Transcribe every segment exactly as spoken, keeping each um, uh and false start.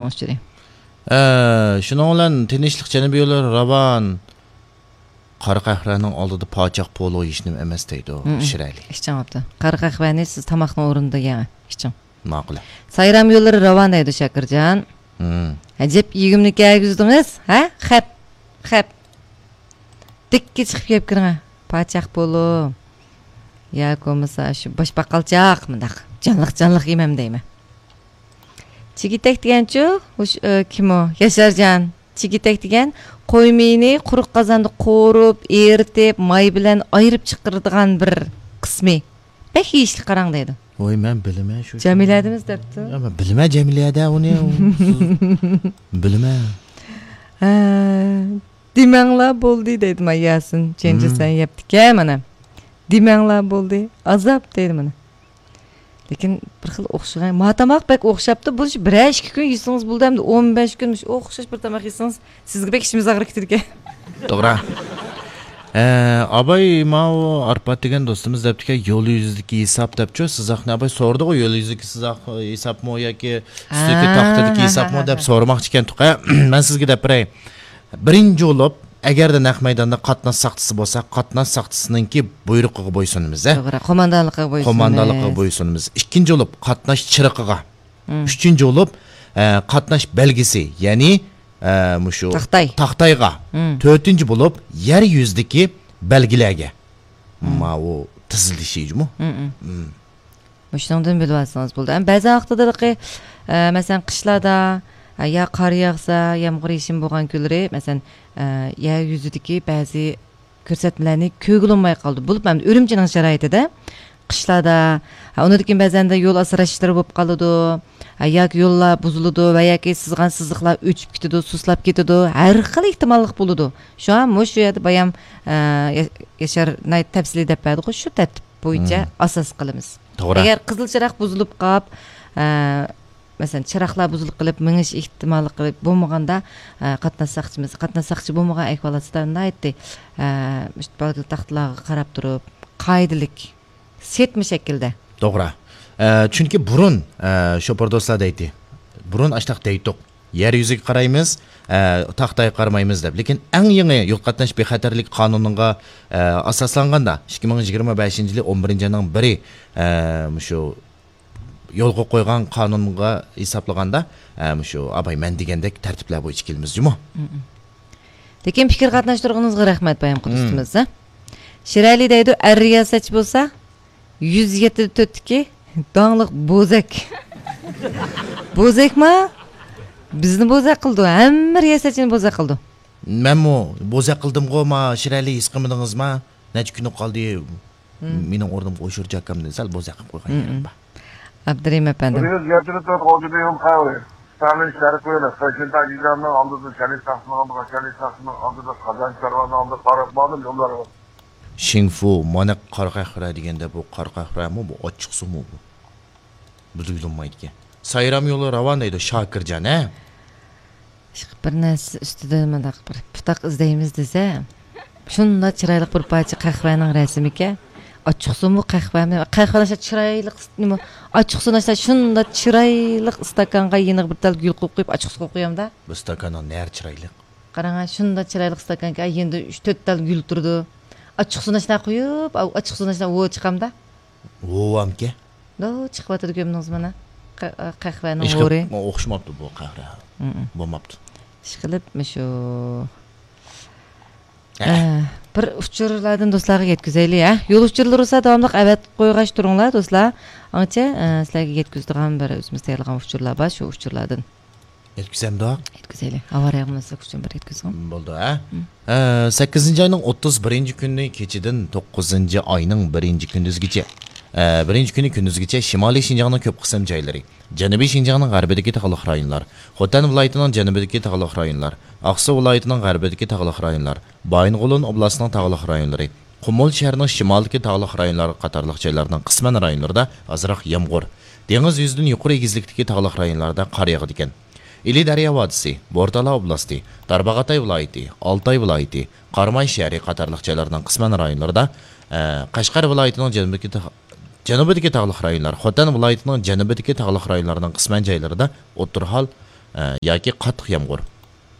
ئۇچۇرى. ئە، شۇنىڭ بىلەن تىنچلىق جەنۇبىي يوللىرى راۋان. قارا قەھۋەنىڭ ئالدىدا پاچاق پولۇ ھېچنېمە ئەمەس دەيدۇ، مم. شىرئەلى. ئىچىڭ بوپتۇ. قارا قەھۋەنى سىز تاماقنىڭ ئورنىدا يەڭ، ئىچىڭ. ماقۇل. سايرام يوللىرى راۋان دەيدۇ شاكىرجان. مم. ئەجەب يېگۈملۈك يېگۈزدىڭىز، ھە؟ خەپ، خەپ. دىككە چىقىپ يەپ كىرىڭە. پاچاق پولۇ. ياكى بولمىسا شۇ باش باقالچاق مۇنداق. جانلىق، جانلىق يېمەم دەيمەن. چىگىتەك دېگەنچۇ؟ ئۇش-، ئە، كىم ئۇ؟ ياشارجان. چىگىتەك دېگەن قوي مېيىنى قۇرۇق قازاندا قورۇپ، ئېرىتىپ، ماي بىلەن ئايرىپ چىقىرىدىغان بىر قىسمى. بەك يېيىشلىك قاراڭ دەيدۇ. ۋاي، مەن بىلىمەن شۇ. جەمىلەدىمىز دەپتۇ. يا، مەن بىلىمەن جەمىلەدە ئۇنى. بىلىمەن. ھە، دېمەڭلار بولدى دەيدۇ مانا ياسىن. چېنجى مم. سەن يەپتىكەن مانا. دېمەڭلار بولدى. ئازاب دەيدۇ مانا. لېكىن بىر خىل ئوخشىغان. ما تاماق بەك ئوخشاپتۇ. بۇ بىرەر ئىككى كۈن يېسىڭىز بولدى. ئەمدى ئون بەش كۈن مۇشۇ ئوخشاش بىر تاماق يېسىڭىز، سىزگە بەك ئىچىمىز ئاغرىپ كېتىدىكەن. توغرا. ئە، ئاباي، ماۋۇ ئارپات دېگەن دوستىمىز دەپتىكەن، يول يۈزىدىكى ھېساب دەپچۇ، سىزاقنى ئاباي سورىدىغۇ، يول يۈزىدىكى سىزاق ھېسابمۇ ياكى ئۈستىدىكى ھە، تاختىدىكى ھە، ھېسابمۇ ھە، دەپ ھە. سورىماقچىكەن تۇقا. مەن سىزگە دەپ بېرەي. بىرىنچى بولۇپ، ئەگەردە نەق مەيداندا قاتناش ساقچىسى بولسا، قاتناش ساقچىسىنىڭكى بۇيرۇقىغا بويسۇنىمىز، ھە؟ توغرا، قوماندانلىقىغا بويسۇنىمىز. قوماندانلىقىغا بويسۇنىمىز. ئىككىنچى بولۇپ، قاتناش چىرىقىغا. مم. ئۈچىنچى بولۇپ، ئە، قاتناش بەلگىسى، يەنى، ئە، مۇشۇ تاختاي. تاختايغا. مم. تۆتىنچى بولۇپ، يەر يۈزىدىكى بەلگىلەرگە. مم. ماۋۇ تىزىلىشى جۇمۇ. مم، مم. مم. مۇشۇنىڭدىن بىلىۋالسىڭىز بولىدۇ. ئەمما بەزى ۋاقتىدا، ئە، مەسىلەن، قىشلاردا، ئە، يا قار ياغسا، يامغۇر يېشىم بولغان كۈنلىرى، مەسىلەن، ئە، يەر يۈزىدىكى بەزى كۆرسەتمىلەرنى كۆرگىلى بولماي قالىدۇ. بولۇپ، ئەمدى ئۈرۈمچىنىڭ شارائىتىدا قىشلاردا، ھە، ئۇنىڭدىن كېيىن بەزەندە يول ئاسراش ئىشلىرى بولۇپ قالىدۇ. ھە، ياكى يوللار بۇزۇلىدۇ ۋە ياكى سىزغان سىزىقلار ئۆچۈپ كېتىدۇ، سۇسلاپ كېتىدۇ. ھەر خىل ئېھتىماللىق بولىدۇ. شۇڭا مۇشۇ يەردە بايام، ئە، يا-، ياشار ناھايىتى تەپسىلىي دەپ بەردىغۇ، شۇ تەرتىپ بويىچە مم. ئاساس قىلىمىز. توغرا. ئەگەر قىزىل چىراغ بۇزۇلۇپ قاپ، ئە، مەسىلەن، چىراغلار بۇزۇلۇپ قېلىپ، مېڭىش ئېھتىماللىقى بولمىغاندا، ئە، قاتناش ساقچىمىز، قاتناش ساقچى بولمىغان ئەھۋالاتتا ناھايىتى، ئە، مۇشۇ بەلگىلىك تاختىلارغا قاراپ تۇرۇپ، قائىدىلىك، سېتما شەكىلدە. توغرا. ئە، چۈنكى بۇرۇن، ئە، شوپۇر دوستلار دەيتتى. بۇرۇن ئاشتاق دەيتتۇق. يەر يۈزىگە قارايمىز، ئە، تاختايغا قارىمايمىز دەپ. لېكىن ئەڭ يېڭى يول قاتناش بىخەتەرلىك قانۇنىغا، ئە، ئاساسلانغاندا، ئىككى مىڭ يىگىرمە بەشىنچى يىلى ئون بىرىنچى ئاينىڭ بىرى، ئە، مۇشۇ يولغا قويغان قانۇنغا ھېسابلىغاندا، ئە، مۇشۇ ئاباي مەن دېگەندەك تەرتىپلەر بويىچە كېلىمىز جۇمۇ. مم. لېكىن پىكىر قاتناشتۇرغىنىڭىزغا رەھمەت بايام مم. قۇدۇستىمىز، ھە؟ شىرئەلى دەيدۇ، ئەر رىياسەتچى بولسا، يۈز يەتتە تۆتتىكى داڭلىق بوزەك. بوزەكما؟ بىزنى بوزەك قىلىدۇ، ھەممە رىياسەتچىنى بوزەك قىلىدۇ. مەنمۇ بوزەك قىلدىمغۇ، ما شىرئەلى، ھېس قىلمىدىڭىزما؟ نەچچە كۈن قالدى. مم. مېنىڭ ئورنۇمغا ئوشۇر جاكامنى سەل بوزەك قىلىپ قويغان مم. يېرىم بار. ئابدۇرېھىم ئەپەندىم. بىز يەتتە تۆت ئوردىنىيوم قەھۋە. سەمىن شەرقىي ئۆلە، سەككىن تاجىجاننىڭ ئالدىدا، شەرىپ تاختىنىڭ ئالدىدا، شەرىپ تاختىنىڭ ئالدىدا، قازان چارۋانىڭ ئالدىدا قاراپ ماڭدىم يوللارغا. شىڭفۇ، مانا قارا قەھۋە دېگەندە، بۇ قارا قەھۋەمۇ، بۇ ئاچچىقسۇمۇ بۇ؟ بىلگىلى بولمايدىكەن. سايرام يولى راۋان دەيدۇ، شاكىرجان، ھە؟ ئىشقىلىپ بىر نەرسە ئۈستىدە مۇنداق بىر پۇتاق ئىزدەيمىز دېسە، شۇنداق چىرايلىق بىر پارچە قەھۋەنىڭ رەسىمىكەن. ئاچچىقسۇمۇ قەھۋەمۇ؟ قەھۋەنىڭ چىرايلىق، نېمە، ئاچچىقسۇنىڭ شۇنداق چىرايلىق ئىستاكانغا يېنىغا بىر تال گۈل قويۇپ قويۇپ، ئاچچىقسۇ قويۇپ قويامدا. بۇ ئىستاكاننىڭ نەرى چىرايلىق؟ قاراڭا، شۇنداق چىرايلىق ئىستاكانكەن، يېنىدا ئۈچ تۆت تال گۈل تۇرىدۇ. ئاچچىقسۇنى شۇنداق قويۇپ، ئاچچىقسۇنى شۇنداق ھوۋا چىقامدا. ھوۋامكەن؟ دو، چىقىۋاتىدۇ، كۆرمىدىڭىزمۇ مانا؟ قە-، قەھۋەنىڭ ھېچ ھورى. ئوخشىماپتۇ بۇ قەھۋە. مم. بولماپتۇ. ئىشقىلىپ، مۇشۇ، ھە. ئە، بىر ئۇچۇرلاردىن دوستلارغا يەتكۈزەيلى، ھە؟ يول ئۇچۇرلىرى بولسا داۋاملىق ئەۋەتىپ قويغاچ تۇرۇڭلار، دوستلار. ئاڭچە، ئە، سىلەرگە يەتكۈزىدىغان بىر ئۆزىمىز تەييارلىغان ئۇچۇرلار بار، شۇ ئۇچۇرلاردىن. يەتكۈزەمدۇ؟ يەتكۈزەيلى. ئاۋارە ياغمىسا ئۇچۇن بىر يەتكۈزگىن. بولدى، ھە؟ مم. ئە، سەككىزىنچى ئاينىڭ ئوتتۇز بىرىنچى كۈنى كېچىدىن توققۇزىنچى ئاينىڭ بىرىنچى كۈندۈزگىچە، ئە، بىرىنچى كۈنى كۈندۈزگىچە شىمالىي شىنجاڭنىڭ كۆپ قىسىم جايلىرى، جەنۇبىي شىنجاڭنىڭ غەربىدىكى تاغلىق رايونلار، خوتەن ۋىلايىتىنىڭ جەنۇبىدىكى تاغلىق رايونلار، ئاقسۇ ۋىلايىتىنىڭ غەربىدىكى تاغلىق رايونلار، بايىنغولىن ئوبلاستىنىڭ تاغلىق رايونلىرى، قۇمۇل شەھىرىنىڭ شىمالىدىكى تاغلىق رايونلار قاتارلىق جايلارنىڭ قىسمەن رايونلىرىدا ئازراق يامغۇر، دېڭىز يۈزىدىن يۇقىرى ئېگىزلىكتىكى تاغلىق رايونلاردا قار ياغىدىكەن. ئىلى دەريا ۋادىسى، بورتالا ئوبلاستى، تارباغاتاي ۋىلايىتى، ئالتاي ۋىلايىتى، قاراماي شەھىرى قاتارلىق جايلارنىڭ قىسمەن رايونلىرىدا، ئە، قەشقەر ۋىلايىتىنىڭ جەنۇبىدىكى تاغ-، جەنۇبىدىكى تاغلىق رايونلار، خوتەن ۋىلايىتىنىڭ جەنۇبىدىكى تاغلىق رايونلارنىڭ قىسمەن جايلىرىدا ئوتتۇرا ھال، ئە، ياكى قاتتىق يامغۇر.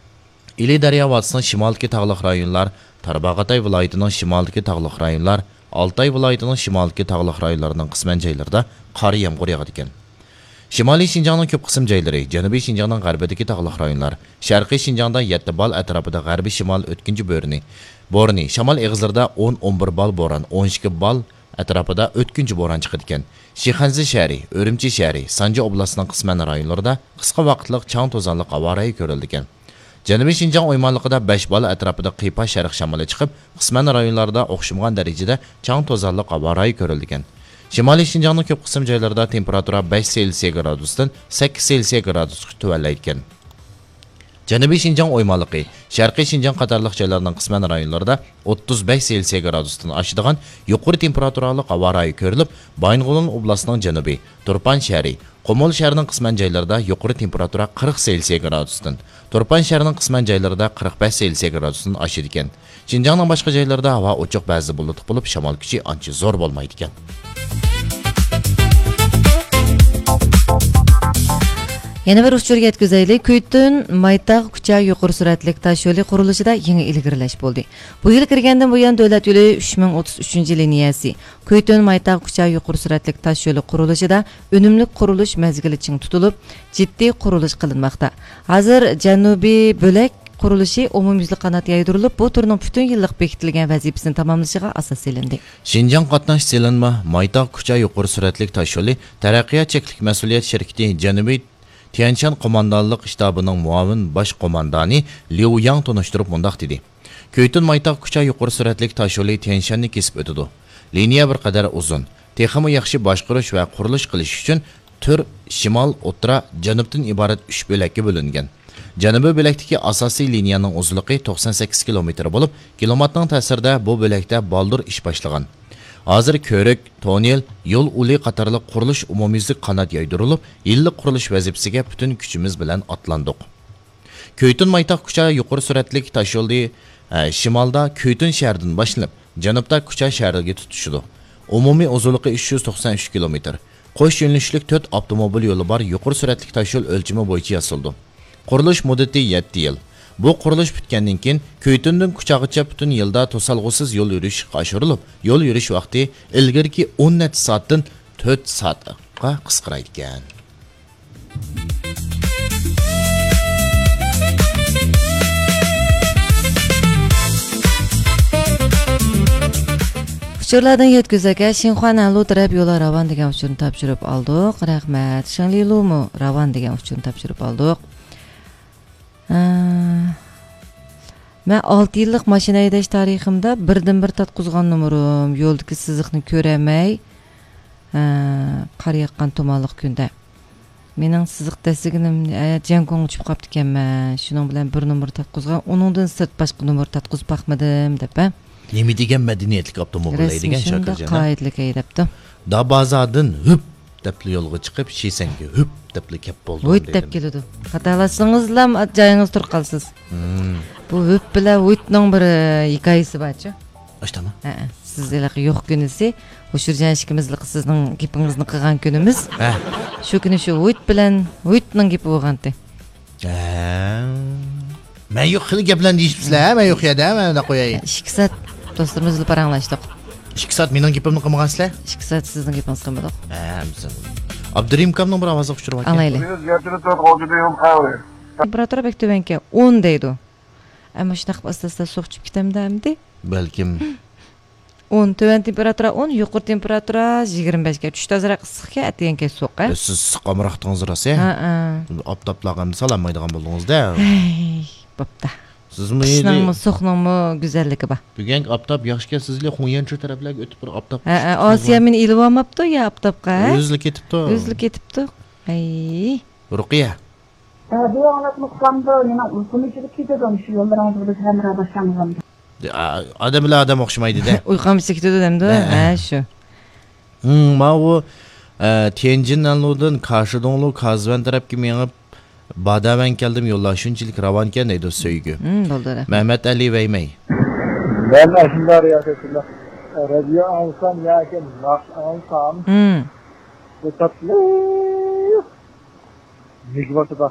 ئىلى دەريا ۋادىسىنىڭ شىمالدىكى تاغلىق رايونلار، تارباغاتاي ۋىلايىتىنىڭ شىمالدىكى تاغلىق رايونلار، ئالتاي ۋىلايىتىنىڭ شىمالدىكى تاغلىق رايونلارنىڭ قىسمەن جايلىرىدا قارا يامغۇر ياغىدىكەن. شىمالىي شىنجاڭنىڭ كۆپ قىسىم جايلىرى، جەنۇبىي شىنجاڭنىڭ غەربىدىكى تاغلىق رايونلار، شەرقىي شىنجاڭدا يەتتە بال ئەتراپىدا غەربىي شىمال ئۆتكۈنچى بۆرىنى، بورىنى، شامال ئېغىزلىرىدا ئون، ئون بىر بال بوران، ئون ئىككى بال ئەتراپىدا ئۆتكۈنچى بوران چىقىدىكەن. شىخەنزە شەھىرى، ئۈرۈمچى شەھىرى، سانجى ئوبلاستىنىڭ قىسمەن رايونلىرىدا قىسقا ۋاقىتلىق چاڭ توزانلىق ھاۋا رايى كۆرۈلىدىكەن. جەنۇبىي شىنجاڭ ئويمانلىقىدا بەش بال ئەتراپىدا قىيپاش شەرق شامىلى چىقىپ، قىسمەن رايونلاردا ئوخشىمىغان دەرىجىدە چاڭ توزانلىق ھاۋا رايى كۆرۈلىدىكەن. شىمالىي شىنجاڭنىڭ كۆپ قىسىم جايلىرىدا تېمپېراتۇرا بەش سېلسىيە گرادۇستىن سەككىز سېلسىيە گرادۇسقىچە تۆۋەنلەيدىكەن. جەنۇبىي شىنجاڭ ئويمانلىقى، شەرقىي شىنجاڭ قاتارلىق جايلارنىڭ قىسمەن رايونلىرىدا ئوتتۇز بەش سېلسىيە گرادۇستىن ئاشىدىغان يۇقىرى تېمپېراتۇرالىق ھاۋا رايى كۆرۈلۈپ، بايىنغولىن ئوبلاستىنىڭ جەنۇبى، تۇرپان شەھىرى، قۇمۇل شەھىرىنىڭ قىسمەن جايلىرىدا يۇقىرى تېمپېراتۇرا قىرىق سېلسىيە گرادۇستىن، تۇرپان شەھىرىنىڭ قىسمەن جايلىرىدا قىرىق بەش سېلسىيە گرادۇستىن ئاشىدىكەن. شىنجاڭنىڭ باشقا جايلىرىدا ھاۋا ئوچۇق، بەزىدە بۇلۇتلۇق بولۇپ، شامال كۈچى ئانچە زور بولمايدىكەن. يەنە بىر ئۇچۇر يەتكۈزەيلى. كۈيتۈن مايتاغ كۇچا يۇقىرى سۈرئەتلىك تاش يولى قۇرۇلۇشىدا يېڭى ئىلگىرىلەش بولدى. بۇ يىل كىرگەندىن بۇيان، دۆلەت يولى ئۈچ مىڭ ئوتتۇز ئۈچىنچى لىنىيەسى، كۈيتۈن مايتاغ كۇچا يۇقىرى سۈرئەتلىك تاش يولى قۇرۇلۇشىدا ئۈنۈملۈك قۇرۇلۇش مەزگىلى چىڭ تۇتۇلۇپ، جىددىي قۇرۇلۇش قىلىنماقتا. ھازىر جەنۇبىي بۆلەك قۇرۇلۇشى ئومۇميۈزلۈك قانات يايدۇرۇلۇپ، بۇ تۈرنىڭ پۈتۈن يىللىق بېكىتىلگەن ۋەزىپىسىنى تاماملىشىغا ئاساس سېلىندى. شىنجاڭ قاتناش سېلىنما مايتاغ كۇچا يۇقىرى سۈرئەتلىك تاش يولى تەرەققىيات چەكلىك مەسئۇلىيەت شىركىتى جەنۇبىي تيەنشان قوماندانلىق شتابىنىڭ مۇئاۋىن باش قوماندانى ليۇ ياڭ تونۇشتۇرۇپ مۇنداق دېدى: كۈيتۈن مايتاغ كۇچا يۇقىرى سۈرئەتلىك تاش يولى تيەنشاننى كېسىپ ئۆتىدۇ. لىنىيە بىر قەدەر ئۇزۇن، تېخىمۇ ياخشى باشقۇرۇش ۋە قۇرۇلۇش قىلىش ئۈچۈن تۈر شىمال، ئوتتۇرا، جەنۇبتىن ئىبارەت ئۈچ بۆلەككە بۆلۈنگەن. جەنۇبىي بۆلەكتىكى ئاساسىي لىنىيەنىڭ ئۇزۇنلۇقى توقسان سەككىز كىلومېتىر بولۇپ، كىلىماتنىڭ تەسىرىدە بۇ بۆلەكتە بالدۇر ئىش باشلىغان. ھازىر كۆۋرۈك، توننېل، يول ئۇلى قاتارلىق قۇرۇلۇش ئومۇميۈزلۈك قانات يايدۇرۇلۇپ، يىللىق قۇرۇلۇش ۋەزىپىسىگە پۈتۈن كۈچىمىز بىلەن ئاتلاندۇق. كۈيتۈن مايتاغ كۇچا يۇقىرى سۈرئەتلىك تاشيولى، ئە، شىمالدا كۈيتۈن شەھىرىدىن باشلىنىپ، جەنۇبتا كۇچا شەھىرىگە تۇتىشىدۇ. ئومۇمىي ئۇزۇنلۇقى ئۈچ يۈز توقسان ئۈچ كىلومېتىر. قوش يۆنىلىشلىك تۆت ئاپتوموبىل يولى بار يۇقىرى سۈرئەتلىك تاشيول ئۆلچىمى بويىچە ياسىلىدۇ. قۇرۇلۇش مۇددىتى يەتتە يىل. بۇ قۇرۇلۇش پۈتكەندىن كېيىن، كۈيتۈندىن كۇچاغىچە پۈتۈن يىلدا توسالغۇسىز يول يۈرۈش ئىشقا ئاشۇرۇلۇپ، يول يۈرۈش ۋاقتى ئىلگىرىكى ئون نەچچە سائەتتىن تۆت سائەتقە قىسقىرايدىكەن. ئۇچۇرلاردىن يەتكۈزەك، شىنخۇا نەنلۇ تەرەپ يولى راۋان دېگەن ئۇچۇرنى تاپشۇرۇپ ئالدۇق. رەھمەت. شېڭلىلۇمۇ راۋان دېگەن ئۇچۇرنى تاپشۇرۇپ ئالدۇق. ئە، مەن ئالتە يىللىق ماشىنا ھەيدەش تارىخىمدا بىردىنبىر تارتقۇزغان نومۇرۇم، يولدىكى سىزىقنى كۆرەلمەي، ئە، قار ياغقان تۇمانلىق كۈندە. مېنىڭ سىزىق دەسسىگىنىم، ئە، جياڭگوڭغا چۈشۈپ قاپتىكەنمەن. شۇنىڭ بىلەن بىر نومۇر تارتقۇزغان، ئۇنىڭدىن سىرت باشقا نومۇر تارتقۇزۇپ باقمىدىم، دەپ، ھە. نېمە دېگەن مەدەنىيەتلىك ئاپتوموبىل ھەيدىگەن شۇنداق شاكىرجان، ھە؟ قائىدىلىك ھەيدەپتۇ. دابازادىن ھۈپ دەپلا يولغا چىقىپ، شىسەنگە ھۈپ دەپلا كەپ بولدۇم ھۇيت دەپ دەيدۇ. كېلىدۇ. خاتالاشسىڭىزلا جايىڭىزدا تۇرۇپ قالىسىز. مم. بۇ ھۈپ بىلەن ھۇيتنىڭ بىر، ئە، ھېكايىسى بارچۇ؟ ئاشتاما؟ ھەئە. سىز ھېلىقى يوق كۈنىسى، ھوشۇرجان ئىككىمىز ھېلىقى سىزنىڭ گېپىڭىزنى قىلغان كۈنىمىز. ھە. شۇ كۈنى شۇ ھۇيت بىلەن ھۇيتنىڭ گېپى بولغانتى. ھە. مەن يوق خېلى گەپلەرنى دېيىشىپسىلەر، ھە؟ مەن يوق يەردە، مەن قوياي. ئىككى سائەت دوستلىرىمىز بىلەن پاراڭلاشتۇق. ئىككى سائەت مېنىڭ گېپىمنى قىلمىغانسىلەر؟ ئىككى سائەت سىزنىڭ گېپىڭىزنى قىلمىدۇق. ھە، بىز ئابدۇرېھىم ئاكامنىڭ بىر ئاۋازلىق ئۇچۇرى باركەن. ئاڭلايلى. تېمپېراتۇرا بەك تۆۋەنكەن، ئون دەيدۇ. ئەمما شۇنداق قىلىپ ئاستا-ئاستا سوقۇپ چۈشۈپ كېتەمدۇ ئەمدى؟ بەلكىم. ئون، تۆۋەن تېمپېراتۇرا ئون، يۇقىرى تېمپېراتۇرا يىگىرمە بەشكەن. چۈشتە ئازراق ئىسسىقكەن، ئەتىگەنكەن سوغۇق، ھە؟ سىز ئىسسىققا ئامراقتىڭىز راست، ھە؟ ھە، ھە. ئاپتاپلارغا ئەمدى سالالمايدىغان بولدىڭىز-دە. ھەي، بوپتۇ. سىزمۇ قىشنىڭمۇ، سوغۇقنىڭمۇ گۈزەللىكى بار. بۈگۈنكى ئاپتاپ ياخشىكەن، سىزلى خۇڭيەنچۇ تەرەپلەرگە ئۆتۈپ بىر ئاپتاپ ھە، ھە، ئاسىيە مېنى ئېلىۋالماپتۇ يا ئاپتاپقا، ھە؟ ئۆزىلا كېتىپتۇ. ئۆزىلا كېتىپتۇ. ھەي. رۇقىيە. رادىيو ئاڭلاپ ئۇخلامدۇ، مېنىڭ ئۇيقۇم ئېچىلىپ كېتىدۇ، مۇشۇ يوللىرىڭىز بىلەن ھەمراھ باشلانغاندا. ئا-، ئادەم بىلەن ئادەم ئوخشىمايدۇ-دە. ئۇيقۇم ئېچىلىپ كېتىدۇ دەمدۇ؟ ھە. ھە، شۇ. ھىم، ماۋۇ، ئە، تيەنجىن نەنلۇدىن كاشىدوڭلۇ كازۋەن تەرەپكە مېڭىپ، باداۋەن كەلدىم، يوللار شۇنچىلىك راۋانكەن دەيدۇ سۆيگۈ. ھىم، بولدى، رەھمەت. مەمەت ئەلى ۋەيمەي. مەن ئاشۇنداق رادىيو ئاڭلىسام ياكى ناخشا ئاڭلىسام، ھىم. بۇ تاتلىق نېگىۋاتىدا.